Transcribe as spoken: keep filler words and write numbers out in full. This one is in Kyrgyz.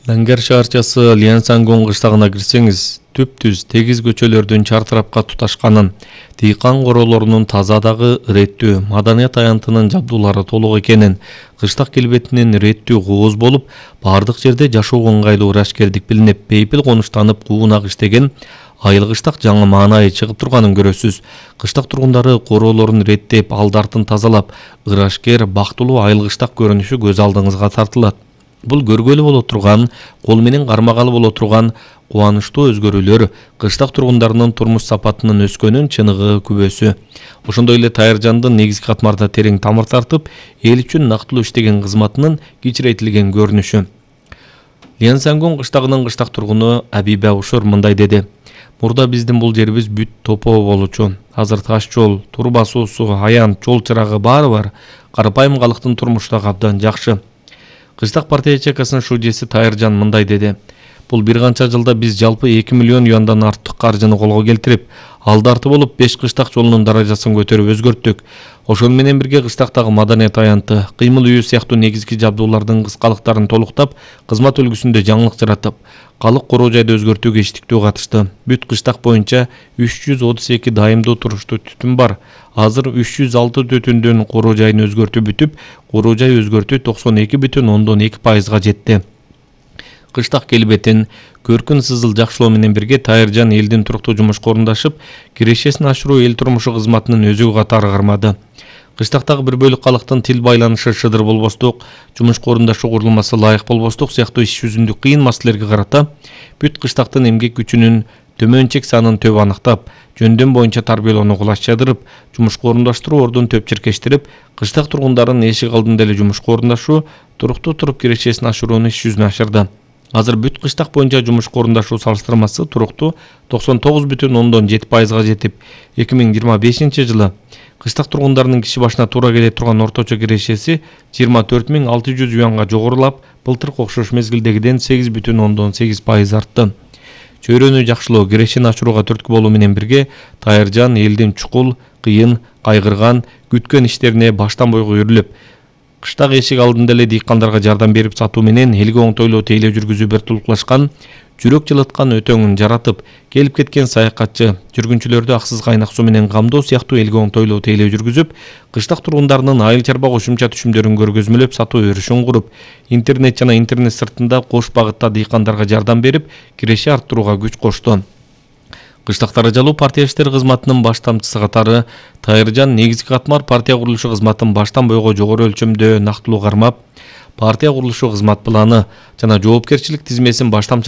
Дангер шаарчасы Лянсангон кыштагына кирсеңиз, түп-түз тегиз көчөлөрдүн чартырапка туташканын, дыйкан королорунун таза дагы реттүү, маданият аянтынын жабдуулары толук экенин, кыштак келбетинин реттүү кооз болуп, бардык жерде жашоого ыңгайлуу ырашкердик билинип, бейпил конуштанып, куунак иштеген айыл кыштак жаңы маанайы чыгып турганын көрөсүз. Кыштак тургундары короолорун реттеп, алдартын тазалап, ырашкер, бактылуу айыл кыштак көрүнүшү көз алдыңызга тартылат. Бул көргөлү боло турган, кол менен кармагалы боло турган кубанычтуу өзгөрүүлөр кыштак тургундарынын турмуш сапатынын өскөнүн чыныгы күбөсү. Ошондой эле Тайыржандын негизги катмарда терең тамыр тартып, эл үчүн нактылуу иштеген кызматынын кичирейтилген көрүнүшү. Лянсангон кыштагынын кыштак тургуну Абиба Ушур мындай деди: "Мурда биздин бул жерибиз бүт топоо болчу. Азыр таш жол, турба суусу, аянт, жол чырагы баары бар. Карапайым калктын турмушу да абдан жакшы." Кыштак партия ячейкасынын шудьеси Тайыржан мындай деди: "Бул бир канча жылда биз жалпы эки миллион юандан артык каржыны колго келтирип, алдарты болуп беш кыштак жолунун даражасын көтөрүп өзгөрттүк. Ошону менен бирге кыштактагы маданият аянты, кыймыл үйү сыяктуу негизги жабдуулардын кыскалыктарын толуктап, кызмат үлгүсүндө жаңылык жаратып, калык короо жайды өзгөртүүгө иштиктүү катышты. Бүт кыштак боюнча үч жүз отуз эки дайымдуу туруштуу түтүн бар. Азыр үч жүз алты түтүндүн короо жайын өзгөртүү бүтүп, короо жай өзгөртүү токсон эки бүтүн ондон эки пайызга жетти." Кыштак келбетин, көркүн сызыл жакшылоо менен бирге Тайыржан элдин туруктуу жумушка орундашып, кирешесин ашыруу эл турмушу кызматынын өзүгү катары кармады. Кыштактагы бир бөлүк калктын тил байланышы шыдыр болбостук, жумушка орундашуу курулмасы ылайык болбостук сыяктуу иш жүзүндө кыйын маселелерге карата бүт кыштактын эмгек күчүнүн төмөн чек санын төп аныктап, жөндөм боюнча тарбиялоону кулачтырып, жумушка орундаштыруу ордун төп чиркештирип, кыштак тургундарын эшик алдында эле жумушка орундашуу, туруктуу туруп кирешесин ашырууну иш жүзүнө ашырды. Азыр бүт кыштак боюнча жумушка орундашуу салыштырмасы туруктуу токсон тогуз бүтүн ондон жети пайызга жетип, эки миң жыйырма бешинчи жылы кыштак тургундарынын киши башына туура келе турган орточо кирешеси жыйырма төрт миң алты жүз юанга жогорулап, былтыркы окшош мезгилдегиден сегиз бүтүн ондон сегиз пайыз артты. Чөйрөнү жакшылоо, кирешени ашырууга түрткү болуу менен бирге Тайыржан элдин чукул, кыйын, кайгырган, күткөн иштерине баштан бойго үйрүлүп, кыштак эшик алдында эле дыйкандарга жардам берип сатуу менен элге оңтойлуу тейлөө жүргүзүү бир тулуклашкан, жүрөк жылыткан өтөңүн жаратып, келип кеткен саякатчы, жүргүнчүлөрдү аксыз кайнак суу менен камдоо сыяктуу элге оңтойлуу тейлөө жүргүзүп, кыштак тургундарынын айыл чарба кошумча түшүмдөрүн көргөзмөлөп сатуу өрүшүн куруп, интернет жана интернет сыртында кош багытта дыйкандарга жардам берип, киреше арттырууга күч кошту. Кыштак даражалуу партия иштери кызматынын баш тамчысы катары Тайыржан негизги катмар партия курулушу кызматын баштан бойго жогору өлчөмдө нактылуу кармап, партия курулушу кызмат планы жана жоопкерчилик тизмесин баш тамчы